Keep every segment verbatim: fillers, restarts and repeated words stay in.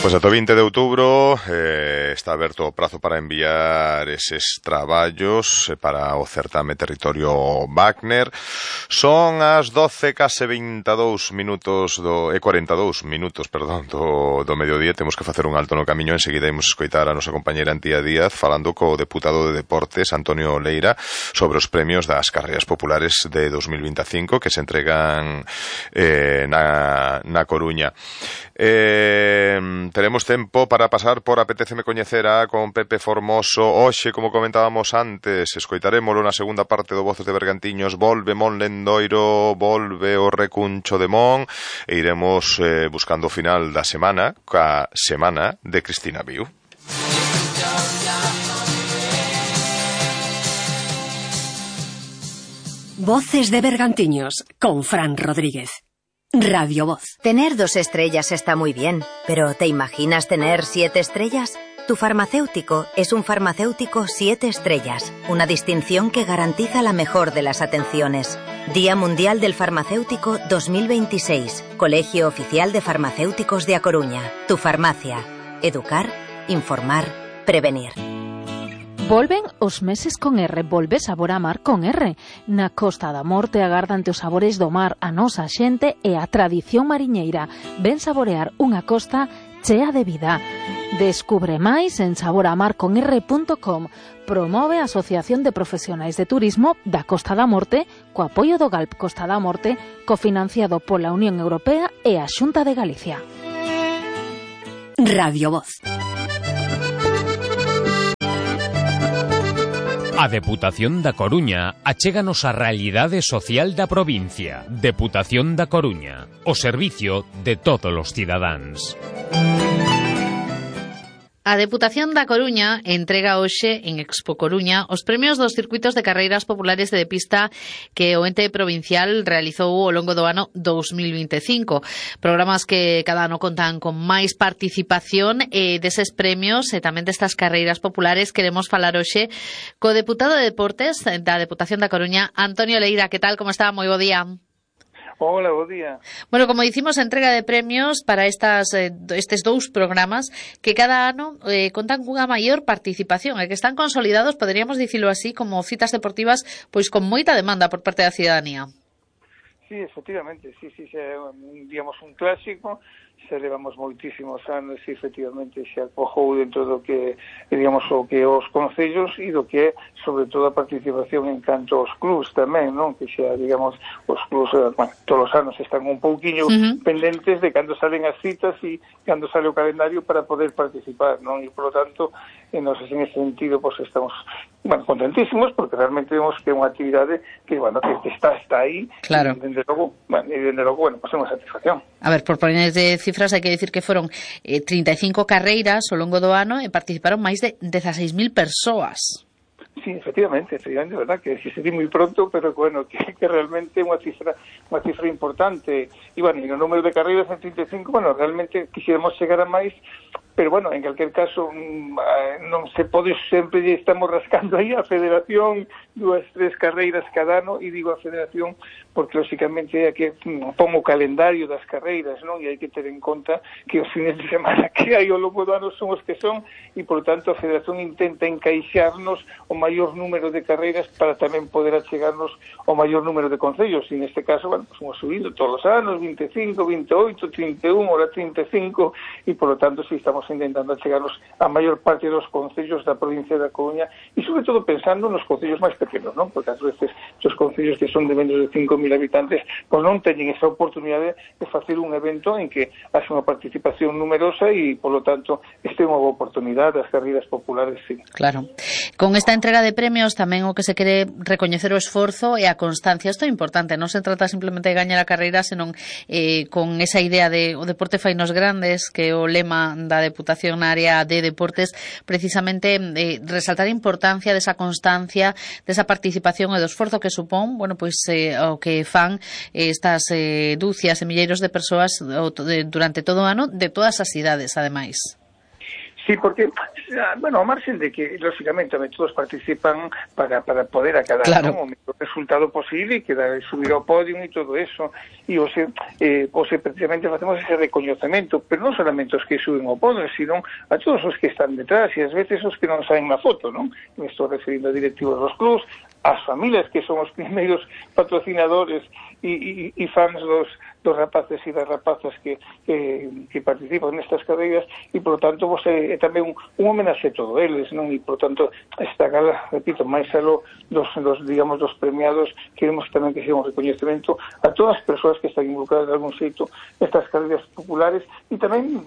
Pois ata o vinte de outubro eh, está aberto o prazo para enviar eses traballos para o certame Territorio Wagner. Son as doce case vinte e dous minutos do, e cuarenta e dous minutos, perdón, do, do mediodía. Temos que facer un alto no camiño. Enseguida imos escoitar a nosa compañeira Antía Díaz falando co deputado de Deportes Antonio Leira sobre os premios das carreiras populares de dos mil vinte e cinco que se entregan eh, na, na Coruña. Eh, teremos tempo para pasar por Apetéceme Coñecer a con Pepe Formoso. Hoxe, como comentábamos antes, escoitarémolo na segunda parte do Voces de Bergantiños. Volve Mon Lendoiro, volve o Recuncho de Mon e iremos eh, buscando o final da semana ca semana de Cristina Viu. Voces de Bergantiños con Fran Rodríguez. Radio Voz. Tener dos estrellas está muy bien, pero ¿te imaginas tener siete estrellas? Tu farmacéutico es un farmacéutico siete estrellas, una distinción que garantiza la mejor de las atenciones. Día Mundial del Farmacéutico dos mil veintiséis, Colegio Oficial de Farmacéuticos de A Coruña. Tu farmacia. Educar, informar, prevenir. Volven os meses con R, volve sabor a mar con R. Na Costa da Morte agardante os sabores do mar, a nosa xente e a tradición mariñeira. Ven saborear unha costa chea de vida. Descubre máis en sabor a mar con r punto com. Promove a Asociación de Profesionais de Turismo da Costa da Morte co apoio do Galp Costa da Morte, cofinanciado pola Unión Europea e a Xunta de Galicia. Radio Voz. A Deputación da Coruña achéganos a realidade social da provincia. Deputación da Coruña, o servicio de todos os cidadáns. A Deputación da Coruña entrega hoxe en Expo Coruña os premios dos circuitos de carreiras populares de pista que o ente provincial realizou ao longo do ano dos mil vinte e cinco. Programas que cada ano contan con máis participación e deses premios e tamén destas carreiras populares queremos falar hoxe co deputado de Deportes da Deputación da Coruña, Antonio Leira. Que tal, como está? Moi bo día. Hola, bo día. Bueno, como dicimos, entrega de premios para estas eh, estes dous programas que cada ano eh, contan cunha maior participación e que están consolidados, poderíamos dicilo así, como citas deportivas pois con moita demanda por parte da cidadanía. Sí, efectivamente, sí, sí, xa, digamos, un clásico. Xa levamos moitísimos anos e efectivamente xa acojou dentro do que, digamos, o que os concellos e do que, sobre todo, a participación en canto aos clubs tamén, non? Que xa, digamos, os clubs, bueno, todos os anos están un pouquiño uh-huh. pendentes de cando salen as citas e cando sale o calendario para poder participar, non? E, por lo tanto, en, nos, en ese sentido, pues estamos, bueno, contentísimos porque realmente vemos que é unha actividade que, bueno, que está, está aí. Claro. E, dende logo, bueno, e dende logo, bueno, pues é unha satisfacción. A ver, por poner de cifras, hai que dicir que foron eh, trinta e cinco carreiras ao longo do ano e participaron máis de dezaseis mil persoas. Sí, efectivamente, efectivamente, verdad, que se di moi pronto, pero bueno, que, que realmente é unha cifra, unha cifra importante. E, bueno, e o número de carreiras en trinta e cinco, bueno, realmente quixéramos chegar a máis, pero, bueno, en calquer caso, non se pode sempre, estamos rascando aí a Federación, dúas, tres carreiras cada ano, e digo a Federación porque, lógicamente, é que pon o calendario das carreiras, non? E hai que ter en conta que os fines de semana que hai ao longo do ano son os que son, e, por tanto, a Federación intenta encaixarnos o maior número de carreiras para tamén poder achegarnos o maior número de concellos, e neste caso, bueno, pues, hemos subido todos os anos, vinte e cinco, vinte e oito, trinta e un, ahora trinta e cinco, e, por lo tanto, si estamos intentando achegarnos a maior parte dos concellos da provincia da Coruña, e, sobre todo, pensando nos concellos máis pequenos, non? Porque, ás veces, os concellos que son de menos de cinco mil habitantes, pois non teñen esa oportunidade de facer un evento en que haxe unha participación numerosa e, por lo tanto, este é unha boa oportunidade das carreiras populares, sí. Claro. Con esta entrega de premios tamén o que se quere recoñecer o esforzo e a constancia. Isto é importante, non se trata simplemente de gañar a carreira, senón eh, con esa idea de o deporte fainos grandes, que o lema da Deputación na área de deportes, precisamente eh, resaltar a importancia desa constancia, desa participación e do esforzo que supón, bueno, pois eh, o que fan estas eh, dúcias e milleiros de persoas durante todo o ano de todas as cidades, ademais. Sí, porque bueno, ao marxen de que, lógicamente, todos participan para, para poder acadar claro. ¿no? o mellor resultado posible e que dar, subir ao podio e todo eso. E ose, eh, ose, precisamente, facemos ese recoñecemento, pero non solamente os que suben ao podio, sino a todos os que están detrás e ás veces os que non saen na foto, non? Me estou referindo a directivos dos clubs, as familias que son os primeiros patrocinadores e, e, e fans dos, dos rapaces e das rapazas que, que, que participan nestas carreiras e, por lo tanto, vos é, é tamén un, un homenaxe a todos eles, non? E, por lo tanto, esta gala, repito, máis aló dos, dos, digamos, dos premiados, queremos tamén que sea un recoñecemento a todas as persoas que están involucradas de algún xeito nestas carreiras populares e tamén,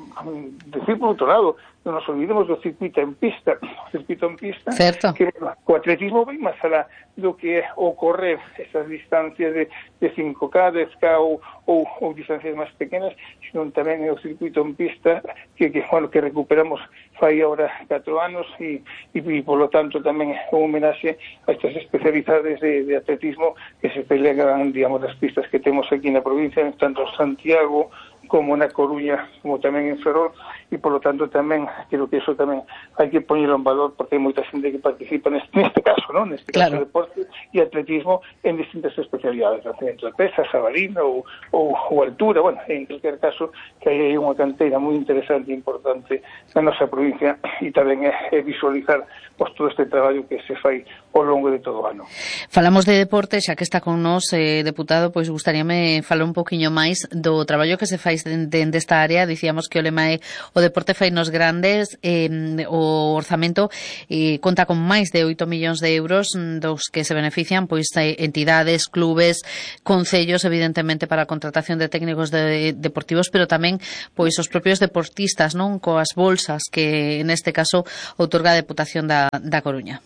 decir por outro lado, non nos olvidemos do circuito en pista, o circuito en pista, certo. Que o atletismo vai máis alá do que é o correr esas distancias de, de cinco K, dez K ou, ou, ou distancias máis pequenas, sino tamén é o circuito en pista que, que, bueno, que recuperamos fai agora catro anos e, e, e polo tanto tamén é un homenaxe a estas especialidades de, de atletismo que se pelean, digamos, das pistas que temos aquí na provincia, tanto en Santiago como na Coruña, como tamén en Ferrol, e polo tanto tamén creo que eso tamén hai que poñerlo en valor porque hai moita xente que participa neste, neste caso, non? Neste claro. caso deporte e atletismo en distintas especialidades, entre pesa, jabalina ou, ou, ou altura, bueno, en cualquier caso que hai unha canteira moi interesante e importante na nosa provincia e tamén é, é visualizar pois, todo este traballo que se fai ao longo de todo o ano. Falamos de deporte, xa que está con nós, eh, deputado, pois gustaríame falar un poquinho máis do traballo que se fai dende de esta área. Dicíamos que o lema é o deporte fai nos grandes, eh, o orzamento eh, conta con máis de oito millóns de euros dos que se benefician pois entidades, clubes, concellos, evidentemente para a contratación de técnicos de, deportivos, pero tamén pois os propios deportistas, non, coas bolsas que neste caso outorga a Deputación da, da Coruña.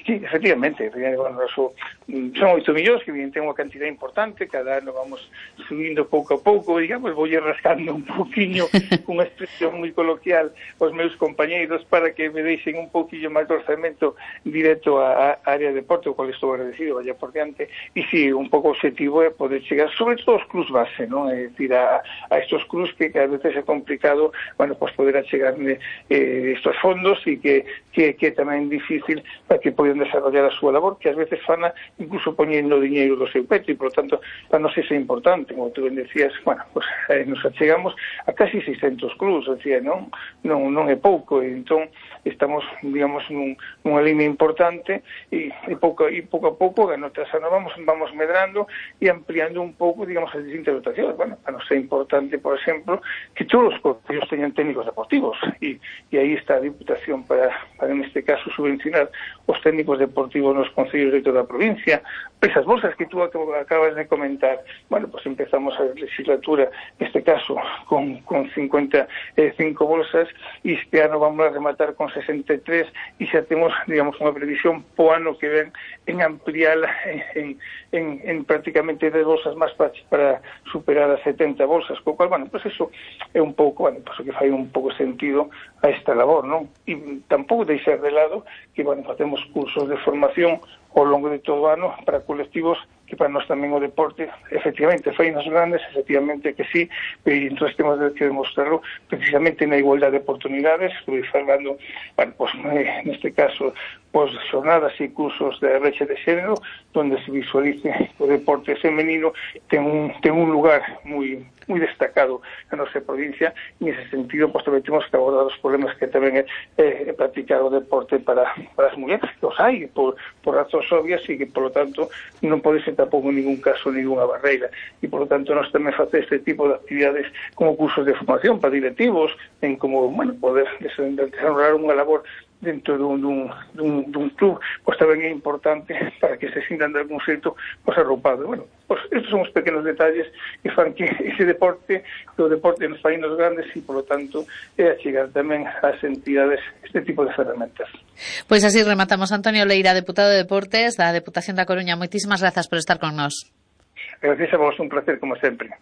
Sí, efectivamente, bueno, eso, son oito millóns que ten unha cantidad importante, cada ano vamos subindo pouco a pouco, digamos, vou rascando un poquinho cunha expresión moi coloquial aos meus compañeiros para que me deixen un poquillo máis de orzamento directo á área de deporte, o cual estou agradecido, vaya por diante, e si, sí, un pouco objetivo é poder chegar, sobre todo os clubs base, non? É dicir, a, a estos clubs que, que a veces é complicado, bueno, pues poder achegarme eh, estos fondos e que, que, que tamén é difícil para que poden desarrollar a súa labor, que ás veces fana incluso poñendo diñeiro do seu peto e, por lo tanto, para nos é importante, como tú ben decías, bueno, pues eh, nos achegamos a casi seiscentos clubs, decía, non, non, non é pouco, e entón estamos, digamos, nun, nunha línea importante e, e, pouco, e pouco a pouco, ano tras ano, vamos, vamos medrando e ampliando un pouco, digamos, as distintas dotacións. Bueno, para nos é importante, por exemplo, que todos os concellos teñan técnicos deportivos e, e aí está a Diputación para, para, neste caso, subvencionar os técnicos deportivos nos concellos de toda a provincia. Esas bolsas que tú acabas de comentar, bueno, pues empezamos a legislatura, neste caso, con, con cincuenta e cinco bolsas e este ano vamos a rematar con sesenta e tres e xa temos, digamos, unha previsión po ano que ven en ampliala en, en, en, en prácticamente dez bolsas máis para, para superar as setenta bolsas, co cual, bueno, pues eso é un pouco, bueno, pues o que fai un pouco sentido a esta labor, non? E tampouco deixar de lado que, bueno, facemos cursos de formación ao longo de todo o ano para colectivos que para nós tamén o deporte efectivamente fai nos grandes, efectivamente que sí, e entón temos que demostrarlo precisamente na igualdade de oportunidades. Estou falando, bueno, pues, neste caso, pues, xornadas e cursos de brecha de xénero donde se visualice o deporte femenino ten un, ten un lugar moi moi destacado na nosa provincia e nese sentido pues, tamén temos que abordar os problemas que tamén é, é, é practicar o deporte para, para as mulleres, que os hai por, por razóns obvias e que, por lo tanto, non pode ser tampouco en ningún caso ninguna barreira e, por lo tanto, nós tamén facer este tipo de actividades como cursos de formación para directivos en como, bueno, poder desarrollar unha labor dentro dun, dun, dun, dun club, pois tamén é importante para que se sintan de algún xeito pois arroupados. Bueno, pois estes son os pequenos detalles que fan que ese deporte, que o deporte nos fai nos grandes e, por lo tanto, é achegar tamén ás entidades este tipo de ferramentas. Pois así rematamos. Antonio Leira, deputado de Deportes da Deputación da Coruña. Moitísimas grazas por estar con nós. Gracias a vos, un placer como sempre.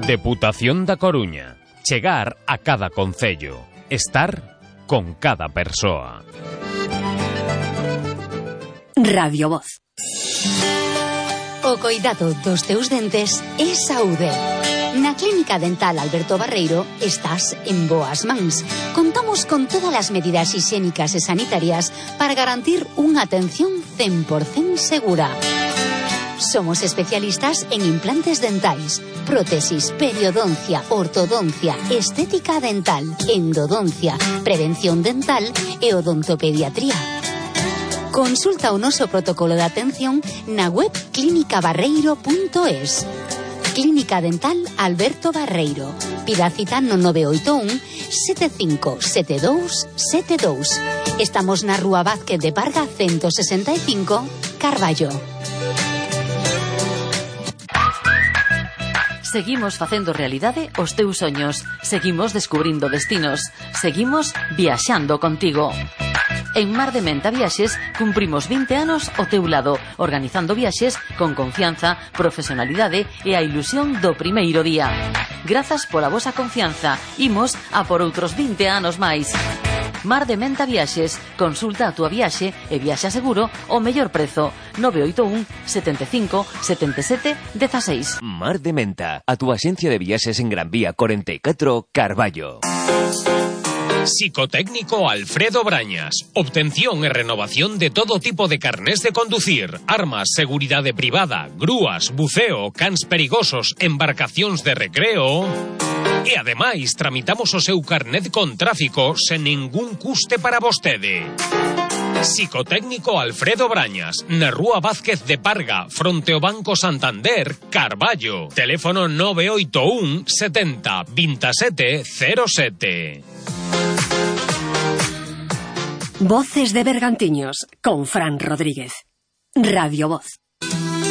Deputación da Coruña. Chegar a cada concello, estar con cada persoa. Radio Voz. O coidado dos teus dentes é saúde. Na Clínica Dental Alberto Barreiro estás en boas mans. Contamos con todas as medidas higiénicas e sanitarias para garantir unha atención cen por cento segura. Somos especialistas en implantes dentais, prótesis, periodoncia, ortodoncia, estética dental, endodoncia, prevención dental e odontopediatría. Consulta o noso protocolo de atención na web clínica barreiro punto es. Clínica Dental Alberto Barreiro. Pida cita no nove oito un sete cinco sete dous sete dous. Estamos na Rúa Vázquez de Parga ciento sesenta e cinco, Carballo. Seguimos facendo realidade os teus soños. Seguimos descubrindo destinos. Seguimos viaxando contigo. En Mar de Menta Viaxes cumprimos vinte anos ao teu lado, organizando viaxes con confianza, profesionalidade e a ilusión do primeiro día. Grazas pola vosa confianza. Imos a por outros vinte anos máis. Mar de Menta Viaxes. Consulta a túa viaxe e viaxa seguro ao mellor prezo. nove oito un sete cinco sete sete un seis. Mar de Menta, a túa axencia de viaxes en Gran Vía cuarenta y cuatro, Carballo. Psicotécnico Alfredo Brañas. Obtención e renovación de todo tipo de carnés de conducir, armas, seguridade privada, grúas, buceo, cans perigosos, embarcacións de recreo. E ademais tramitamos o seu carnet con tráfico sen ningún custe para vostede. Psicotécnico Alfredo Brañas, na Rúa Vázquez de Parga, fronte ao Banco Santander, Carballo. Teléfono nove oito un setenta veintisiete cero sete. Voces de Bergantiños con Fran Rodríguez. Radio Voz.